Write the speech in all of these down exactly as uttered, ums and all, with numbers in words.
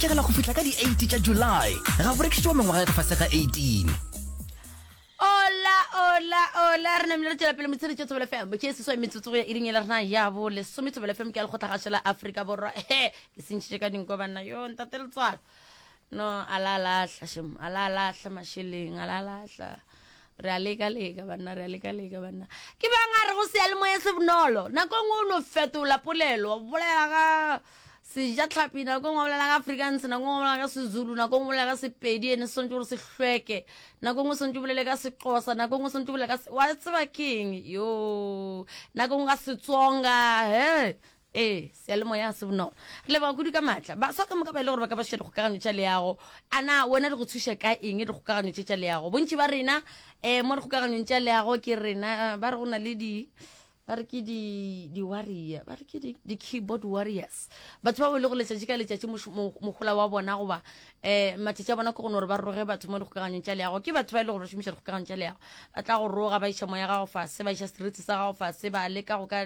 hwetšagala go fihla ka di-eight tša July. Ga bo rekišetšwa mengwaga ya ka fase ga eighteen. Ola, ola, ola, re namile re tšwela pele motshedi tša Thobela F M. Ke seswai metsotso go ya iring e le rena ya bo lesome. Thobela F M ke ya lekgotlagašo la Afrika Borwa. He, ke sentšhitše ka dinko banna. Yo, ntate Letswalo. No, a la lahla šem, a la lahla mašeleng, a la lahla. Re a leka leka banna, re a leka leka banna. Ke bang a re go seyalemoya se bonolo. Nako e nngwe o no fetola polelo, wa bolela ka sejatlhapi, nako e nngwe wa bolela ka Afrikaans, nako e nngwe wa bolela ka Sezulu, nako e nngwe o bolela ka Sepedi, ene se swantše gore se hlweke, nako e nngwe o swantše o bolele ka Sexhosa, nako e nngwe o swantše o bolele ka se, wa tseba keng, yo, nako e nngwe ka Setsonga, he. Ee, seyalemoya se bonolo. Re leboga kudu ka maatla. Baswa ka moka ba e le gore ba ka ba šetša dikgokaganyo tša leago, a na wena di go thuša ka eng dikgokaganyo tše tša leago? Bontši ba rena um mo dikgokaganyong tša leago ke rena ba re go na le di, ba re ke di, di-warrior, ba re ke di, di-keyboard warriors. Batho ba e le go letšatši ka letšatši mohola wa bona goba um matšatši a bona ke go no gore ba roge batho mo dikgokaganyong tša leago. Ke batho ba e le gore ba šomiša dikgokaganyo tša leago, ba tla go roga, ba iša moya gago fase, ba iša seriti sa gago fase, ba leka go ka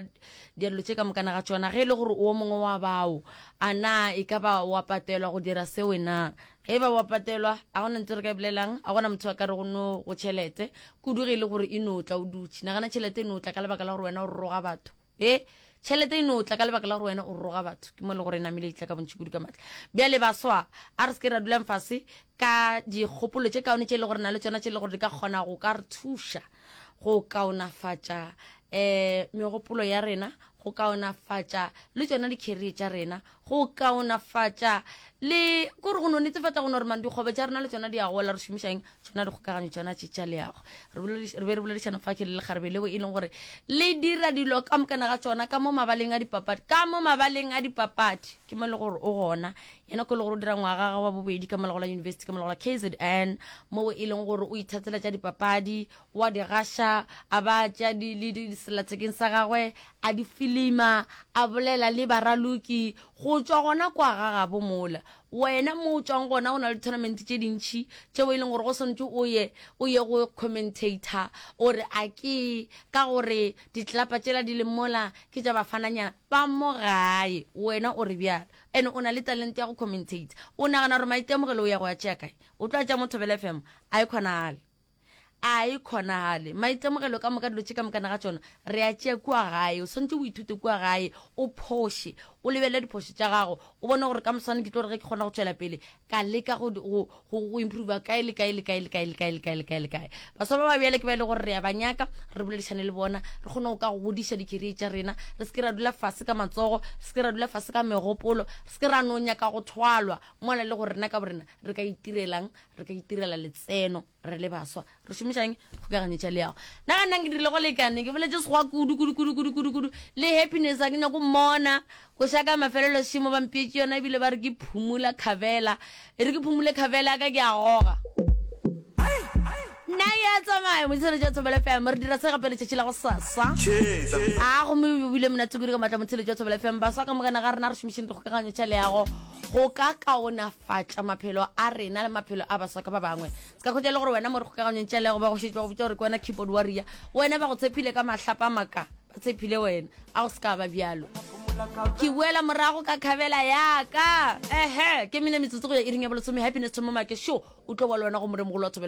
dialelo tše ka mokana ga tšona. Ge e le gore o mongwe wa bao, a na e ka ba wa patelwa go dira seo na? Ge e ba wa patelwa, a gona ntho re ka e bolelang, a gona motho a ka re go no go tšhelete kudu ge e le gore e no tla o dutše. Nagana tšhelete e no tla ka lebaka la gore wena o roga batho. E tšhelete e no tla ka lebaka la gore wena o roga batho, ke mo e le gore e namile e tla ka bontši kudu ka matla. Bjale baswa, a re se ke ra dulang fase ka dikgopolo tše kaone tše e le gore na le tšona, tše e le gore di ka kgona go ka re thuša go kaonafatša um megopolo ya rena, go kaonafatša le tšona di-career tša rena, go kaonafatša le kore go no netefatša go no gore man dikgobe tša rena le tšona di a gola. Re šomišang tšona dikgokaganyo tšona tše tša leago. Re be re boledišana fa ke le lekgarebe leo e leng gore le dira dilo ka mokana ga tšona ka mo mabaleng a dipapadi, ka mo mabaleng a dipapadi ke mo e le gore o gona yena, ko e le gore o dira ngwaga wa bobedi ka mo la university ka mo la K Z N, mo e leng gore o ithatela tša dipapadi, wa di gaša, a ba tša di le di sellathekeng sa gagwe, a di filima, a bolela le baraloki go tšwa gona kwa ga gabo mola. Wena mo o tšwang gona go na le tournament tše dintši tšeo e leng gore go swantše o ye o ye go commentator o re a ke ka gore ditlelapa tšela di leng mola ke tša bafananyana ba mo gae, wena o re bjalo ene o na le talente ya go commentate. O nagana gore maitemogelo o ya go ya tšea kae? O tlo a tša mo Thobela F M? A e kgonagale, a e kgonagale. Maitemogelo ka moka, dilo tše ka mokana ga tšona re a tšea kua gae. O swantše o ithute kua gae, o phoše, o lebelele diphošo tša gago, o bone gore ka moswane ke tlo re ge ke kgona go tšwela pele ka leka go, go, go, go improve kae le kae le kae le kae le kae le kae le kae le kae. Baswa ba ba bjale ke ba e le gore re a ba nyaka, re boledišane le bona, re kgone go ka go godiša di-career tša rena. Re se ke ra dula fase ka matsogo, re se ke ra dula fase ka megopolo, re se ke ra no nyaka go thwalwa mola le gore rena ka borena re ka itirelang, re ka itirela letseno re le baswa. Re šomišang kgokaganyo tša leago. Nagana ke dirile go lekane, ke boletse sekgowa kudu kudu kudu kudu kudu kudu le happiness a ke nyako mmona ko šaka mafelelo šimo ba mpietše yona, ebile ba re ke phumula khabela, e re ke phumule khabela ka ke a goga. Nna ya tsamaya motshelo tša Thobela F M, re dira se gape letšatši la go sasa. A gomme o bile monate kudu ka matla motshelo tša Thobela F M. Baswa ka mokana ga rena re šomišeng dikgokaganyo tša leago go ka kaonafatša maphelo a rena le maphelo a baswa ka ba bangwe. Se ka kgotsa le gore wena mo dikgokaganyong tša leago ba go šetše ba go botša gore ke wena keyboard warrior, wena ba go tshepile ka mahlapa a maka, ba tshepile wena, a go se ka ba bjalo. Ke boela morago ka khabela ya ka. Ehe, ke mene metsotso go ya iring ya bolesome. Happiness Thomo Make show o tlo ba le wena go moremogolo wa Thobela.